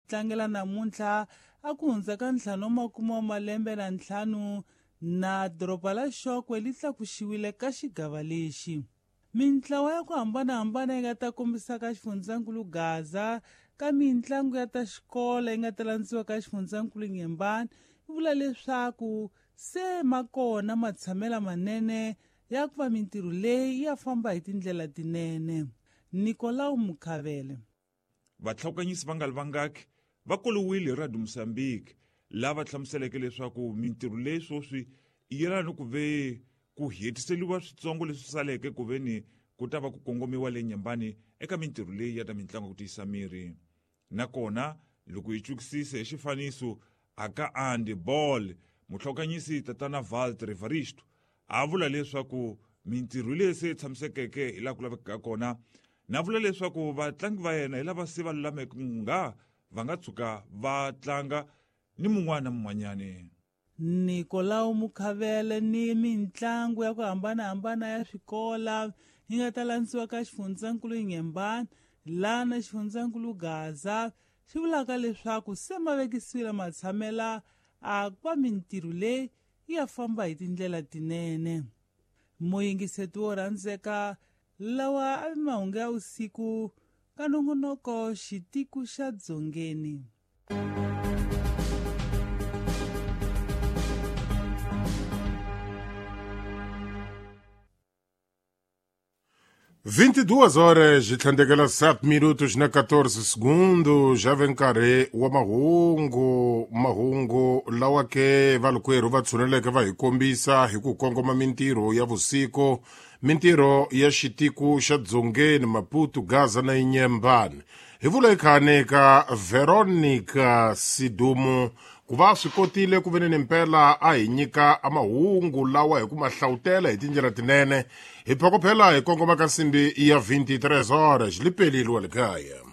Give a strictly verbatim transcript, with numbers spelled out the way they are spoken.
Tlangela namuntlha a ku hundza ka ntlhanu wa makume wa malembe na ntlhanu na doroba la Xokwe li tlakuxiwile ka xigava lexi. Mintlawa ya ku hambanahambana yi nga ta kombisa ka xifundzankulu Gaza ka mintlangu ya ta xikolo yi nga ta landziwa ka xifundzankulu Nyembani yi vula leswaku se ma kona matshamela manene ya ku va mintirho leyi ya famba hi tindlela tinene. Nicolau Mukhavele. Vatlhawukanyisi va nga li vangaki va koliwile hi Radio Mozambique lava hlamuseleke leswaku mintirho leyi sweswi yi yelana ni ku ve ku hetiseliwa switsongo leswi saleke ku ve ni ku ta va ku kongomiwa le Nyembani eka mintirho leyi ya ta mitlangu ku tiyisa miri. Nakona loko hi twisisa hi xifaniso aka Andy Ball mutlhawukanyisi tatana Walter Evaristo a vula leswaku mintirho leyi se tshamisekeke hi laha ku lavekaka kona, na vula leswaku vatlangi va yena hi lava se va lulameke nga va nga tshuka va tlanga ni mun'wana na mun'wanyani. Nicolau Mukhavele ni mintlangu ya ku hambanahambana ya swikola yi nga ta landziwa ka xifundzankulu Nyembani laha na xifundzankulu Gaza swi vulaka leswaku se ma vekisiwile matshamela a ku va mintirho leyi yi ya famba hi tindlela tinene. Muyingiseti wo rhandzeka, lawa a mahungu ya usiku ka nongonoko Xitiku xa Dzongeni. vinte e duas horas e trinta e sete minutos na quatorze segundos. Já vem nkarhi wa mahungu, mahungu lawa ke valukwerhu va tshuneleke va hi kombisa hi ku kongoma mintirho ya vusiku, mintirho ya xitiku xa Dzongeni, Maputo, Gaza na Inyembani. Hi vula ikhane ka Veronica Sidumo ku va swi kotile ku ve ni mpela a hi nyika a mahungu lawa hi ku ma hlawutela hi tindlela tinene. Hi phokophela hi kongoma ka nsimbi ya vinte e três horas lipelile wa le kaya.